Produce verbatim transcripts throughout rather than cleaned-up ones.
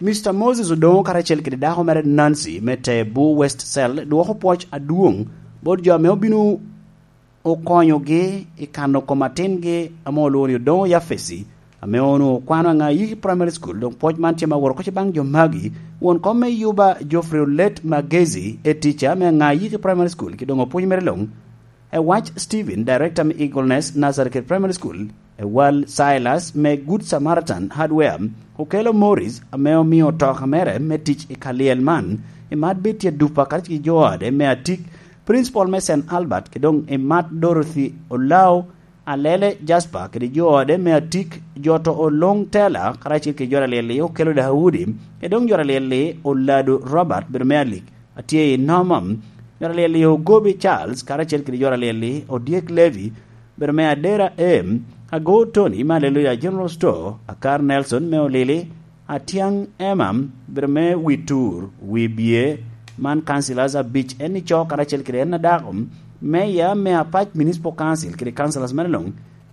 Mister Moses Odongo karacel kede dako mere Nancy me Tebu West Cell dwoko pwoc adwoŋ bot jo ame obino okonyogi i kano kom atingi ame olwoŋo ni Odongo Yafesi, ame onwoŋo okwano Aŋayiki Primary School. Dok pwoc man tye ma woro oko baŋ jo magi. Won kom me Yuba Geoffrey Olet Magezi, e tica me Aŋayiki Primary School, ki doŋ opwony mere luŋ. E wac Stephen, director me Eagle Nest Nursery kede Primary School, e wal Silas me Good Samaritan Hardware, Okello Morris, ame omio otoka mere me tic i kalyel man, i mat Betty Adupa karacel ki jo ode me Atik, principal me Saint Albert, ki doŋ i mat Dorothy Olao, Alele Jasper kede jo ode me Atik, Joto Oloŋ Tela karacel ki jo alyel-li, Okello Daudi, ki doŋ jo alyel-li, Olado Robert, bedo me Alik, atye i Nomam, jo alyel-li, Ogobi Charles karacel kede jo alyel-li, Odyek Levi, bedo me Adera M, Ago Tony me Aleluya General Store, Akar Nelson me Olili, Atiaŋ Emma, bedo me Witur, Wibye, man councillors abic, en ico karacel kede en adako, meya me Apac Municipal Council kede councillors mere luŋ,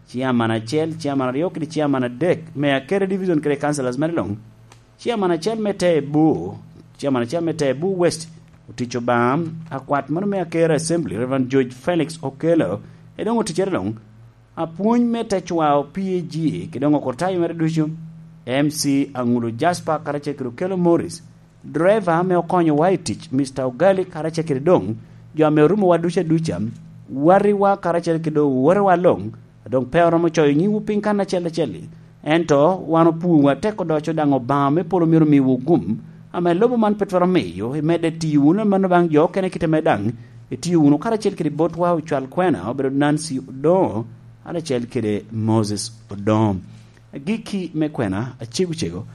chairman acel, chairman aryo kede chairman adek me Akere Division kede councillors mere luŋ, chairman acel me Tebu, chairman acel me Tebu West, otic Obaŋa, akwat mano me Akere Assembly, Reverend George Felix Okello, e doŋ oticere luŋ, apwony me tecwao P A G, ki doŋ okurtayo mere ducu, M C Aŋulu Jasper karacel kede Okello Morris, driver ame okonyowa i tic, Mister Ogali karacel kede doŋ jo ame orumowa ducu aduca, watiwa karacel kede owotewa luŋ, a doŋ pe oromo coyo nyiŋwu piny kan acel acel-li. Ento wan opwowu atek odoco daŋ Obaŋa me polo myero omiwu gum, ame lobo man pe twero miyo imedde tiyo wunu amanno baŋ jo okene kite me daŋ, itiyo wunu karacel kede botwa ocwal kwena obedo Nancy Odongo, karacel kede Moses Odongo. Agikki me kwena acego cego,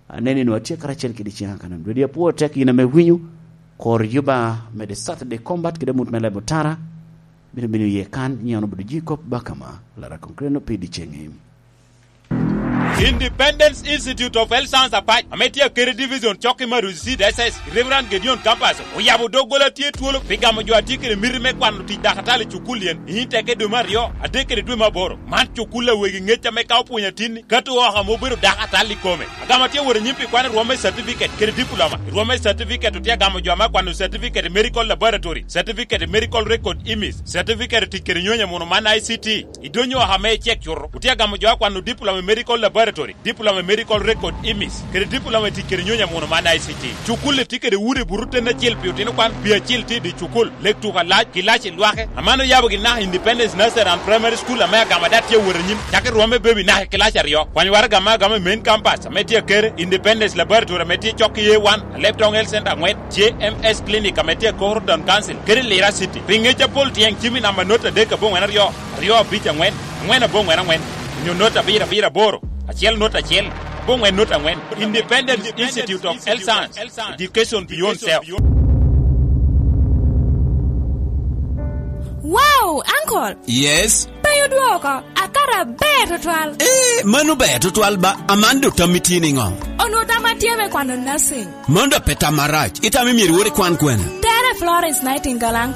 aneni nu atye karacel kede ciŋa kanan. Dwedi apwo tek yin ame winyo, kor yuba me the Saturday Combat kede mut me lebo tara, bino bino iye kan, nyiŋ obedo ji kop bakama, Lara Konkreno pi diceŋi. Independence Institute of Health Science Apac, ame tye Akere Division, cok i Maruzi Seed S S, Reverend Gideon Campus, oyabo doggola tye twolo pi gamo jo a tye kede miti me kwano tic dakatali i cukul yen, i teke dwe me aryo, adek kede dwe me aboro. Man cukul a wegi ŋec ame ka opwonyo atinni, kato oko ame obedo dakatali i kome. Agamo atye wot i nyim pi kwan i rwom me certificate kede diploma. I rwom me certificate otye agamo jo ame akwano certificate i medical laboratory, certificate i medical record image, certificate i tic kede nyonyo amuno man I C T. Idonyo oko ame icek cuto, otye agamo jo akwano diploma i medical laboratory, diploma i medical record image, kede diploma i tic kede nyonyo amuno man I C T. Cukul-li tye kede udi buto ten acel pi otino kwan, pi acel tye i di cukul, lek tuko alac, kilaci lwake. Aman oyabo gin naka Independence Nursery and Primary School ame agamo ada tye awot anyim, cak i rwom me baby naka i kilaci aryo. Kwany waraga ame agamo i main campus ame tye Akere, Independence Laboratory ame tye cok i A one, Leptong Health Center aŋwen, J M S Clinic ame tye Koro Town Council, kede Lira City. Pi ŋec apol tyeŋ cim i namba not adek aboŋwen aryo, aryo abic aŋwen, aŋwen aboŋwen aŋwen, onyo not abiro abiro aboro, acel not acel, aboŋwen not aŋwen. Independent Institute of Health Science, Education Beyond Self. Wow, uncle! Yes? Pe odwoko, akara ber tutwal. Eh, mano ber tutwal ba, aman do tammi tye niŋo? Onwo tam atye me kwano nursing. Mano do pe tam marac, itamo myero iwot ikwan kwene? Tere Florence Nightingale, uncle.